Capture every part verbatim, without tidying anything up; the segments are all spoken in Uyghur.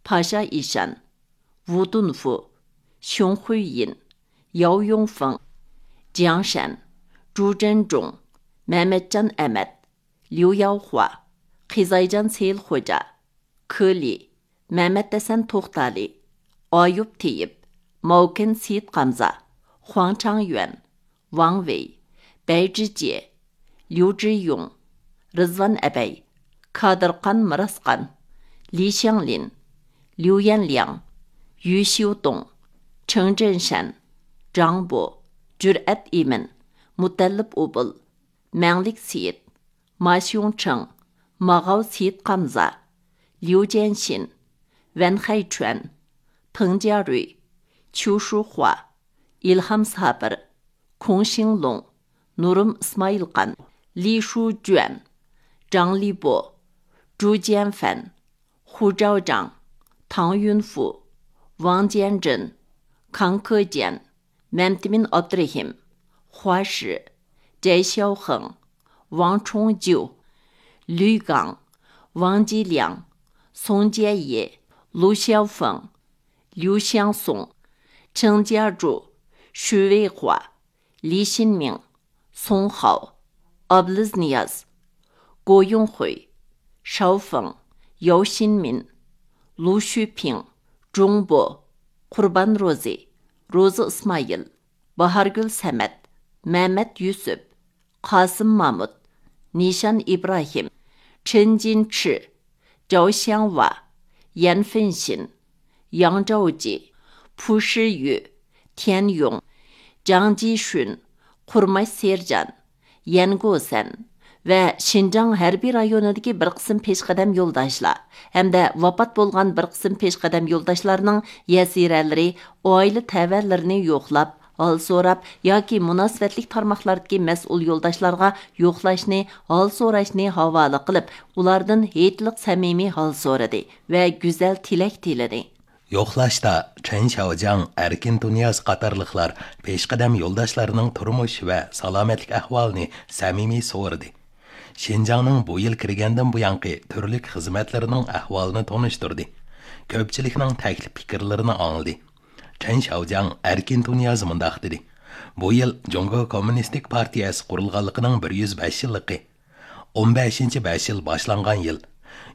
پاشا ئىشان، ۋۇ دۇنفۇ، شيۇڭخۇييىن، ياۋ يۇڭفېڭ، جياڭ شەن، جۇ جەنجۇڭ، مەمەتجان ئەمەت، ليۇ ياۋخۇا، قىزايجان سېيىل خوجا، كې لى، مەمەت ھەسەن توختالى، ئايۇپ تېيىپ، ماۋكېن سېيىت قامزا، خۇاڭ چاڭيۈەن، ۋاڭ ۋېي، بەي جىجيې، ليۇ جىيۇڭ، رىزۋان ئەبەي، كادىرخان مىراسخان، لى شياڭلىن، ليۇ يەنلياڭ، يۈ شيۇدۇڭ، چېڭ جېنشەن، جاڭ بو، جۈرئەت ئىمىن، مۇتەللىپ ئۇبۇل، مەڭلىك سېيىت، ما شيۇڭ چېڭ، ماغاۋ سېيىت قامزا، ليۇ جيەنشىن، ۋەن خەيچۈەن، پېڭ جيارۈي، چيۇ شۇخۇا، ئىلھام سابىر، كۇڭ شىڭلۇڭ، نۇرۇم ئىسمائىلخان، لى شۇجۈەن، جاڭ لىبو، جۇ جيەنفەن، خۇ جاۋجاڭ، تاڭ يۈنفۇ، ۋاڭ جيەنجىن، كاڭ كېجيەن، مەمتىمىن ئابدۇرېھىم، خۇا شى، جەي شياۋخېڭ، ۋاڭ چۇڭ جيۇ، لۈي گاڭ، ۋاڭ جىلياڭ، سۇڭ جيەيې، لۇ شياۋفېڭ، ليۇ شياڭسۇڭ، چېڭ جياجۇ، شۈ ۋېيخۇا، لى شىنمىڭ، سۇڭ خاۋ، ئابلىز نىياز، گو يۇڭخۇي، شاۋفېڭ، ياۋ شىنمىن، لۇ شۈپىڭ، جۇڭ بو، قۇربان روزى، روزى ئىسمائىل، باھارگۈل سەمەت، مەمەت يۈسۈپ، قاسىم مامۇت، نىشان ئىبراھىم، چېن جىنچى، جاۋ شياڭۋا، يەن فېنشىن، ياڭ جاۋجى، پۇ شىيۈ، تيەن يۇڭ، جاڭ جىشۈن، قۇرماش سېرجان، يەن گوسەن ۋە شىنجاڭ ھەربىي رايونىدىكى بىر قىسىم پېشقەدەم يولداشلار ھەمدە ۋاپات بولغان بىر قىسىم پېشقەدەم يولداشلارنىڭ يەسىرەلىرى، ئائىلە تەۋەلىرىنى يوقلاپ، ھال سوراپ ياكى مۇناسىۋەتلىك تارماقلاردىكى مەسئۇل يولداشلارغا يوقلاشنى، ھال سوراشنى ھاۋالە قىلىپ، ئۇلاردىن ھېيتلىق سەمىمىي ھال سورىدى ۋە گۈزەل تىلەك تىلىدى. يوقلاشتا چېن شياۋجياڭ، ئەركىن تۇنىياز قاتارلىقلار پېشقەدەم يولداشلارنىڭ تۇرمۇش ۋە سالامەتلىك ئەھۋالىنى سەمىمىي سورىدى. شىنجاڭنىڭ بۇ يىل كىرگەندىن بۇيانقى تۈرلۈك خىزمەتلىرىنىڭ ئەھۋالىنى تونۇشتۇردى. كۆپچىلىكنىڭ تەكلىپ پىكىرلىرىنى ئاڭلىدى. چېن شياۋجياڭ ئەركىن تۇنىياز مۇنداق دېدى: بۇ يىل جۇڭگو كوممۇنىستىك پارتىيەسى قۇرۇلغانلىقىنىڭ بىر يۈز بەش يىللىقى. ئون بەشىنچى بەش يىل باشلانغان يىل.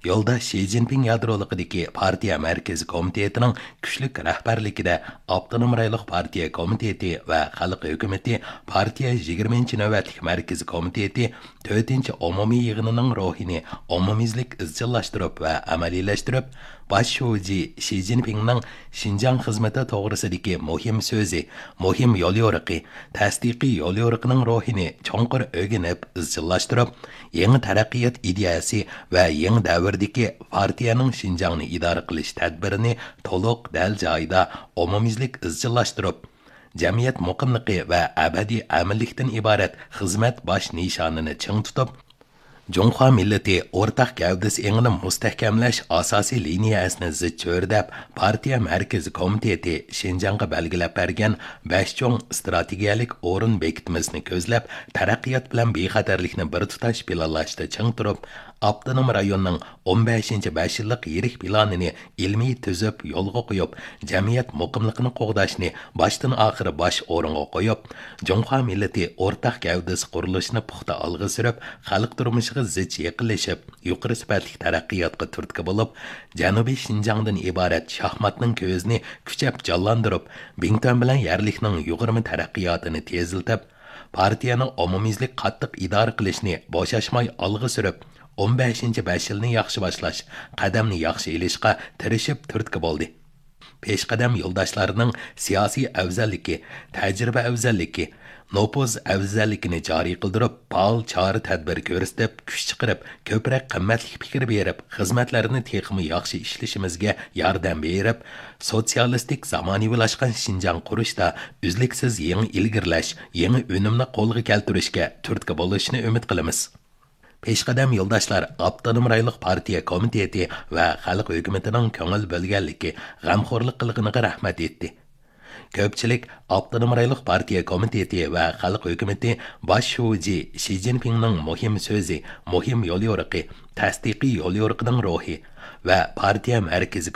يولداش شى جىنپىڭ يادرولۇقىدىكى پارتىيە مەركىزىي كومىتېتىنىڭ كۈچلۈك رەھبەرلىكىدە ئاپتونوم رايونلۇق پارتىيە كومىتېتى ۋە خەلق ھۆكۈمىتى پارتىيە يىگىرمىنچى نۆۋەتلىك مەركىزىي كومىتېتى تۆتىنچى ئومۇمىي يىغىنىنىڭ روھىنى ئومۇميۈزلۈك ئىزچىللاشتۇرۇپ ۋە ئەمەلىيلەشتۈرۈپ، باش شۇجى شى جىنپىڭنىڭ شىنجاڭ خىزمىتى توغرىسىدىكى مۇھىم سۆزى، مۇھىم يوليورۇقى، تەستىقىي يوليورۇقىنىڭ روھىنى چوڭقۇر ئۆگىنىپ ئىزچىللاشتۇرۇپ، يېڭى تەرەققىيات ئىدىيەسى ۋە يېڭى دەۋردىكى پارتىيەنىڭ شىنجاڭنى ئىدارە قىلىش تەدبىرىنى تولۇق، دەل جايىدا، ئومۇميۈزلۈك ئىزچىللاشتۇرۇپ، جەمئىيەت مۇقىملىقى ۋە ئەبەدىي ئەمىنلىكتىن ئىبارەت خىزمەت باش نىشانىنى چىڭ تۇتۇپ، جۇڭخۇا مىللىتى ئورتاق گەۋدىسى ئېڭىنى مۇستەھكەملەش ئاساسىي لىنىيەسىنى زىچ چۆرىدەپ، پارتىيە مەركىزىي كومىتېتى شىنجاڭغا بەلگىلەپ بەرگەن بەش چوڭ ئىستراتېگىيەلىك ئورۇن بېكىتمىسىنى كۆزلەپ، تەرەققىيات بىلەن بىخەتەرلىكنى بىر تۇتاش پىلانلاشتا چىڭ تۇرۇپ، ئاپتونوم رايوننىڭ ئون بەشىنچى بەش يىللىق يىرىك پىلانىنى ئىلمىي تۈزۈپ يولغا قويۇپ، جەمئىيەت مۇقىملىقىنى قوغداشنى باشتىن ئاخىر باش ئورۇنغا قويۇپ، جۇڭخۇا مىللىتى ئورتاق گەۋدىسى قۇرۇلۇشىنى پۇختا ئالغا سۈرۈپ، خەلق تۇرمۇشىغا زىچ يېقىنلىشىپ، يۇقىرى سۈپەتلىك تەرەققىياتقا تۈرتكە بولۇپ، جەنۇبىي شىنجاڭدىن ئىبارەت شاھماتنىڭ كۆزىنى كۈچەپ جانلاندۇرۇپ، بىڭتۈەن بىلەن يەرلىكنىڭ يۇغۇرما تەرەققىياتىنى تېزلىتىپ، پارتىيەنىڭ ئومۇميۈزلۈك قاتتىق ئىدارە قىلىشنى بوشاشماي ئالغا سۈرۈپ، ئون بەشىنچى بەش يىلنى ياخشى باشلاش، قەدەمنى ياخشى ئېلىشقا تىرىشىپ تۈرتكە بولدى. پېشقەدەم يولداشلارنىڭ سىياسىي ئەۋزەللىكى، تەجرىبە ئەۋزەللىكى، نوپۇز ئەۋزەللىكىنى جارى قىلدۇرۇپ، پائال چارە-تەدبىر كۆرسىتىپ، كۈچ چىقىرىپ، كۆپرەك قىممەتلىك پىكىر بېرىپ، خىزمەتلەرنى تېخىمۇ ياخشى ئىشلىشىمىزگە ياردەم بېرىپ، سوتسىيالىستىك زامانىۋىلاشقان شىنجاڭ قۇرۇشتا ئۈزلۈكسىز يېڭى ئىلگىرىلەش، يېڭى ئۈنۈمنى قولغا كەلتۈرۈشكە تۈرتكە بولۇشىنى ئۈمىد قىلىمىز. پېشقەدەم يولداشلار ئاپتونوم رايونلۇق پارتىيە كومىتېتى ۋە خەلق ھۆكۈمىتىنىڭ كۆڭۈل بۆلگەنلىكى، غەمخورلۇق قىلغىنىغا رەھمەت ئېيتتى. كۆپچىلىك ئاپتونوم رايونلۇق پارتىيە كومىتېتى ۋە خەلق ھۆكۈمىتى باش شۇجى شى جىنپىڭنىڭ مۇھىم سۆزى، مۇھىم يوليورۇقى، تەستىقىي يوليورۇقىنىڭ روھى ۋە پارتىيە مەركىزىي